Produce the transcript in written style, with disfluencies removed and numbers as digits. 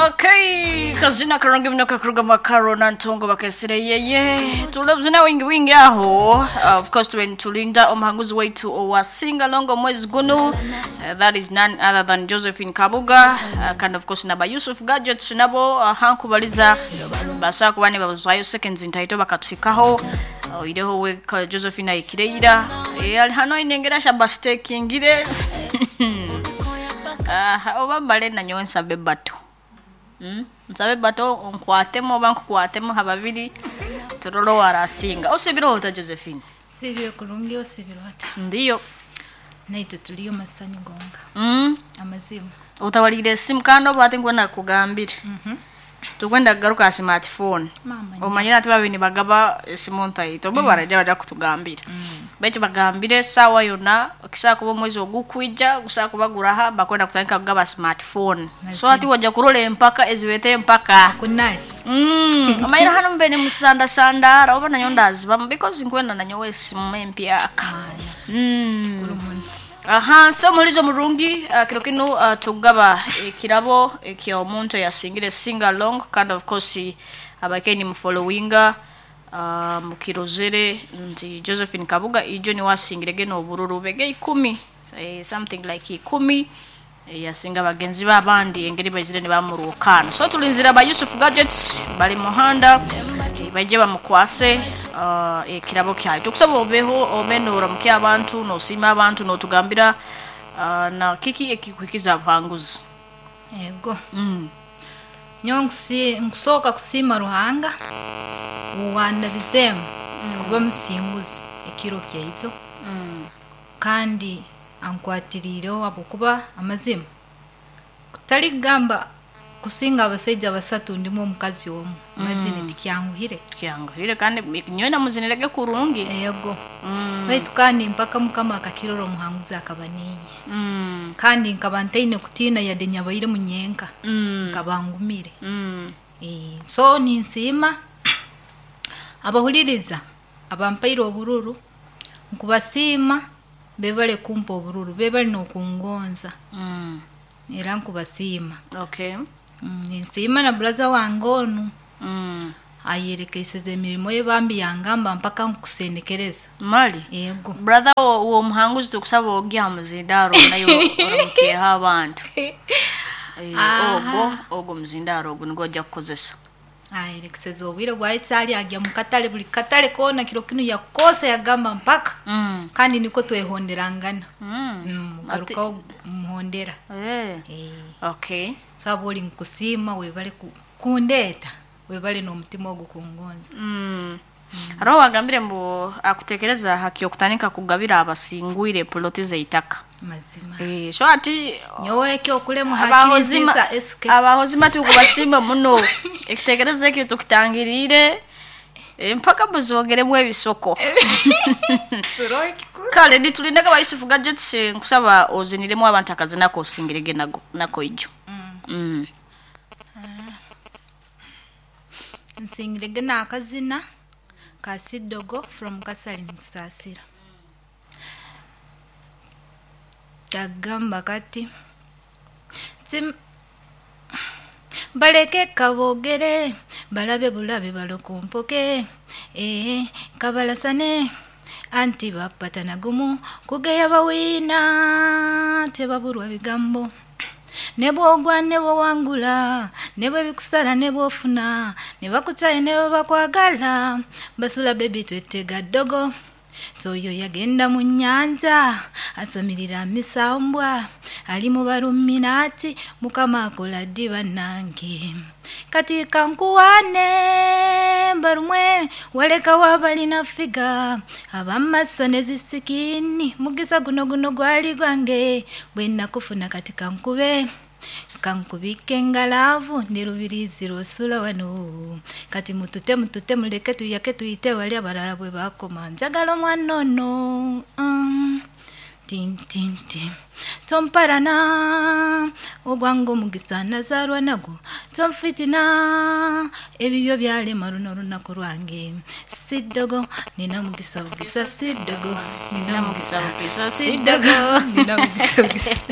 Okay, kazina karungi mno kakuruga makaro na ntongo bakesere yeye tulabzina wingi wingi aho. Of course tulinda omuhanguzi waitu owa singalongo mwezi guno, that is none other than Josephine Kabuga, kandi of course naba Yusuf Gadgets nabo, hankubaliza basa kuba ne babuzwayo seconds ntaito bakatwikaho oireho we Josephine aikireira e, ali hano inengera shabastekingire. Oba mbale nanyowe nsabe bato. Nsabe bato nkwatemu oba nkukwatemu hababiri turolo warasinga osibira ota Josephine. Sibire kurungi, osibire ota? Ndiyo. Naitwe tuliyo masanyu gonga. Amazima. Utawalire esimu kandi oba ate ngwena kugambire tukwenda kugaruka ha smartphone. Mama. Omanyire ati babiri nibagaba esimu ntaito oba baraija baja kutugambira baitu bagambire esaawa yonna kisaa kuba omwezi ogukwija gusaa kuba guraha bakwenda kutandika kugaba smartphone, so Mazima. ati wajja kurola empaka ezibeeta empaka. Kunali. Omanyire hano mube nimusandasandara oba nanyo ndazibamu because nkwenda nanyowe esimu empyaka. Mana. Kurumuni. Aha, so mulizo murungi, kiro kinu, tugaba ekirabo ekyomuntu eyasingire sing along, kandi of course abakeni mufollowinga, mukirozere nti Josephine Kabuga ijo niwe asingire geno obururu bege 10, something like 10, yasinga bagenzi be abandi engeri baizire nibamuruukana. So tulinzira ba Yusuf Gadgets bali muhanda, baije bamukwase ekirabo kyayo. Tukusaba obeho obe noramukia abantu nosiima abantu notugambira na kiki ekikuhikiza abahanguzi. Ego. Nyowe nkusooka kusiima Ruhanga owandabizemu kuba musinguzi ekiro kyaitu kandi ankwatiriireho habwokuba amazima kutali kugamba kusinga abasaija basatu ndimu omukazi omu imagine tikyanguhire. Kyanguhire kandi nyowe namuzinirege kurungi. Ego, baitu kandi mpaka Mukama akakirora omuhanguzi akaba ninye kandi nkaba ntaine kutiina yadde nyabaire munyenka nkaba ngumire. So ninsiima abahuliriza abampaire obururu, nkubasiima bebale kumpa obururu, bebale n'okungonza era nkubasiima. Okay. Ninsiima na buraza wange onu ayerekeiseze emirimo ye bambi yangamba mpaka nkusendekereza. Mali. Ego. Brother wo muhanguzi tukusaba ogya ha muzindaro nayo oramukeha abantu. Aha. Ogwo muzindaro ogwo nigwo ojja kukozesa. Ayerekeseze obwire bwaitse agya mu katale buli katale koona kiro kinu yakosa yagamba mpaka kandi niko twehonderangana. Garukaho muhondera. Okay. Sabu oli nkusiima webale kundeeta webale n'omutima ogwo kungonza. Hariho wagambire mbu akutekereza hakyokutandika kugabira abasingwire poloti zeitaka. Mazima. So ati nyowe ekyokulemu abahozima hakiriziza SK. Abahozima tukubasiima muno ekitekerezo ekyo tukitangiriire, mpaka muzongeremu ebisoko. Turoho ekikuru. Kale nitulindaga ba Yusuf Gadgets, nkusaba oziniremu abantu akazinako osingirege nako ijo. Nsingirege n'akazina ka Sidogo from Kasali nkusaasira kagamba kati baleke kabogere balabe bulabe balokompoke kabalasane anti bapatana gumu kugeya bawiina tebabulwa bigambo ne bwogwa ne bwowangula ne bwe bikusala ne bwofuna ne bakukyaye ne bwe bakwagala basula bebi twetega ddogo toyo yagenda mu nnyanja asamirira misambwa ali mu baluminaati Mukama akola ddi bannange kati kankuwane mbalumwe walekawo abalina figa ab'amaaso ne zisikiini mugisa guno guno gwali gwange bwe nakufuna kati kankube kankubike engalaavu ne lubirizi lw'osula wano kati mutute mutute muleke tuyake tuyite bali abalala bwe bakoma njagala omwana ono. Tintinti tomparana ogwange omugisa nazaalwa nagwo tonfitina ebibyo byalema luno olunaku lwange siddogo nina mugisa bugisa siddogo nina Mugisa mugisa bugisa siddogo nina mugisa bugisa.